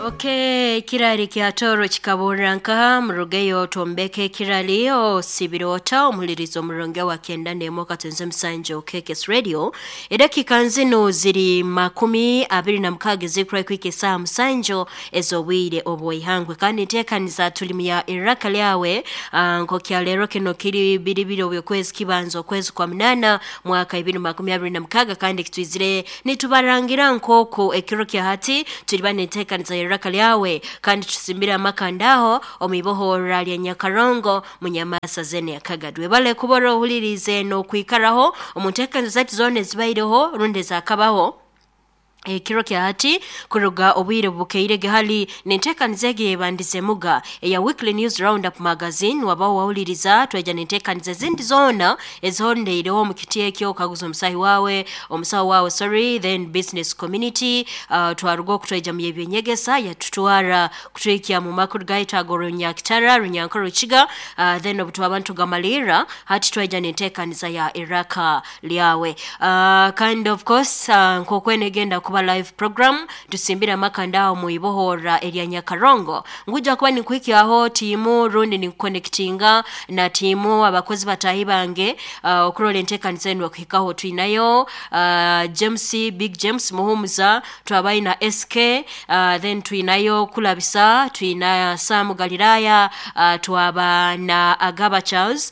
Okay, ekirali kya Toro kikaburira nkaha murugeyo tombeke ekirali osibire ota omuhulirizo omurungi wa 91 katonze musanju KKS Radio. Edakika nzino ziri 26 zikura kwika esaha 7 ez'obwire obw'ihangwe, kandi nteekaniza tuli mu ya iraka lyawe. Nk'okya leero kino kiri 22 obw'okwezi kibanza okwezi kwa 8 mwaka 2026, kandi kitwizire nitubarangira nk'oku ekiro kya hati tuliba nenteekaniza ya iraka lyawe, kandi tusimbire amakandaho omu ibohora lya Nyakarongo munyamasa zene yakagadwe bale kubora ohulirize n'okwikaraho omu nteekaniza zaitu zoona ezibaireho rundi ezakabaho ekiro kya hati kuruga obwire bukeirege. Hali nenteekaniza egi yebandize muga eya Weekly News Roundup Magazine, wabaho wahuliriza twaija nenteekaniza ezindi zoona ezihondeireho omu kiti ekyo okaguza omusahi wawe omusaho wawe, sorry, then business community. Twaruga okutwaija mu y'ebyenyegesa yatutwara kutwikya mu makuru gaitu ago Runyakitara, Runyankore, Rukiga. Then obu twaba nitugamalirra hati twaija nenteekaniza ya iraka lyawe. Kandi of course, nk'okwene egenda kuba live program, tusimbire amakanda mu ibohora erya Nyakarongo. Nguja kuba ninkuhikyaho tiimu rundi ninkuconnectinga na tiimu abakozi batahi bange, okurola enteekaniza enu okuhikaho. Twinayo James, Big James Muhumuza, twabaina SK, then twinayo Kulabisa, twina Sam Galilaya, twaba na Agaba Charles,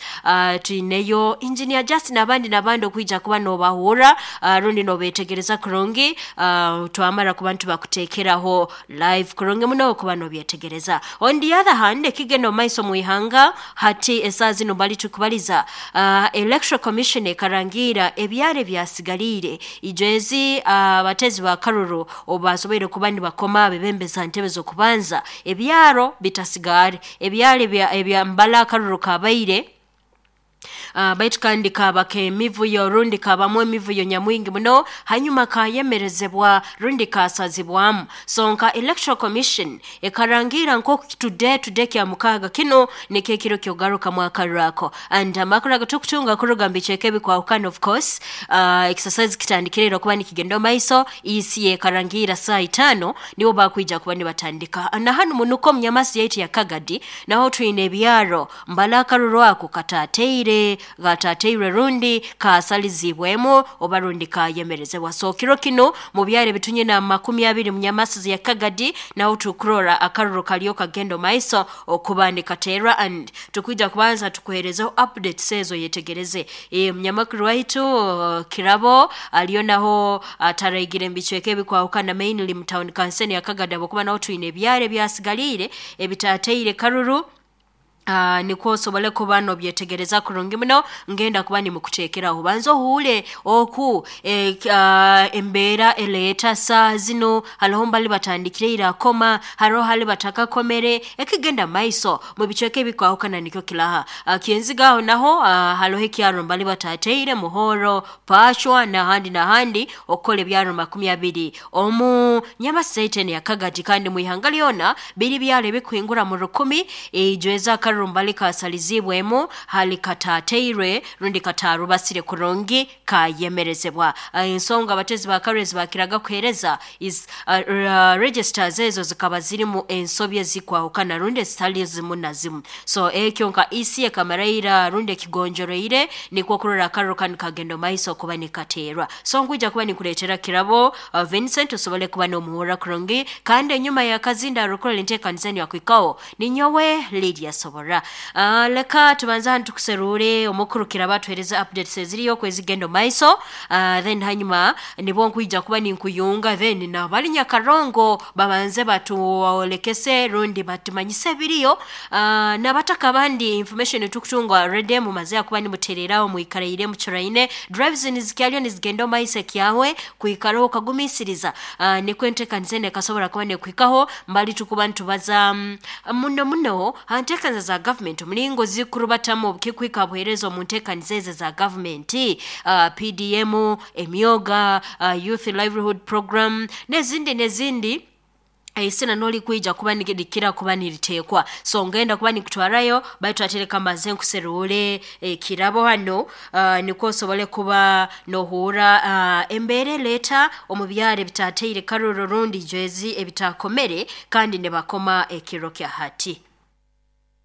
twineyo Engineer Justin n'abandi n'abandi okwija kuba nobahura, rundi nobetegereza kurungi. Twamara kuba nitubakuteekeraho live kurungi muno kuba nobyetegereza. On the other hand, ekigenda omu maiso mu ihanga hati esaa zino bali tukubaliza, Electoral Commission ekarangira ebyaro ebyasigaliire ijwezi abatezi ba karuru obu basoboire kuba nibakoma bebembeza ntebe z'okubanza, ebyaro bitasigare ebyaro ebya mbala akaruru kabaire, baitu kandi kaba k'emivuyo rundi kabamu emivuyo nyamwingi muno, hanyuma kayemerezebwa rundi kasazibwamu. So nka Electoral Commission ekarangira nk'oku today kya mukaaga kino nikyo ekiro kyogarukamu akaruru ako. And amakuru agatukutunga kuruga mu bicweka ebikwahukana, of course, exercise kitandikire okuba nikigenda omu maiso. EC ekarangira saa 5 nibo bakwija kuba nibatandika. Na hanu munuko omunyamasi yaitu ya Kagadi naho twine ebyaro mbala akaruru ako katateire gatateirwe rundi kasalizibwemu oba rundi kayemerezebwa. So kiro kino mu byaro ebitunyina 20 munyamasi ya Kagadi naho tukurora akaruru kaliyo kagenda omu maiso okuba nikaterwa, and tukwija kubanza tukuherezeho updates ezo yetegereze. Munyamakuru waitu Kirabo aliyo naho ataraigire mu bicweka ebikwahukana, mainly mu town council ya Kagadi, habwokuba naho twine ebyaro ebyasigaliire ebitateire karuru. Nikwo osobole kuba nobyetegereza kurungi muno. Ngenda kuba nimukuteekeraho banza ohuule oku embeera eleeta saa zino. Hariho mbali batandikire irakoma, hariho hali batakakomere, ekigenda maiso mu bicweka ebikwahukana nikyo kilaha. Kyenziga aho naho, hariho ekyaro mbali batateire Muhoro, Pashwa n'ahandi n'ahandi, okukola ebyaro 20 omu Nyamaseiteni ya Kagadi. Kandi mu ihanga lyona biri byaro ebikuhingura mu 1000 ijweza akaruru mbali kasalizibwemu hali katateirwe rundi katarubasire kurungi kayemerezebwa. Ensonga abatezi ba karezi bakiraga kuhereza is registers ezo zikaba zirimu ensobi ezikwahukana rundi ezitali zimu na zimu. So ekyo nka EC ekamaraira rundi ekigonjoroire nikwo kurora akaruru kanu kagenda omu maiso kuba nikateerwa. So nkwija kuba nikuleetera Kirabo Vincent osobole kuba n'omuhurra kurungi, kandi enyuma y'akazinda arukurora enteekaniza enu yakwikaho ninyowe Lydia Sobora. Leka tubanze hanu tukuserure omukuru Kirabo atuhereze updates eziriyo okwezigenda omu maiso, then hanyuma nibwo nkwija kuba ninkuyunga then nabali Nyakarongo babanze batuolekese rundi batumanyise ebiriyo. N'abataka abandi information tukutunga already mumaze kuba nimutereraho mwikaraire mucuraine drives nizikyaliyo nizigenda omu maiso ekyawe kwikaraho okagumisiriza, nikwo enteekaniza enu ekasobora kuba nekuhikaho. Mbali tukuba nitubaza muno muno ha nteekaniza za government omulingo zikurubatamu obukikwika buheereza omu nteekaniza ezo za government, PDM, emyoga, youth livelihood program n'ezindi n'ezindi. Eisina nolikwija kuba nirikira kuba niritekwa. So ngenda kuba nikutwarayo, baitu atereka mbanze nkuserure ekirabo hano, nikwo osobole kuba nohura embeera eleeta omu byaro ebitateire karuro rundi jwezi ebitakomere kandi nibakoma ekiro kya hati.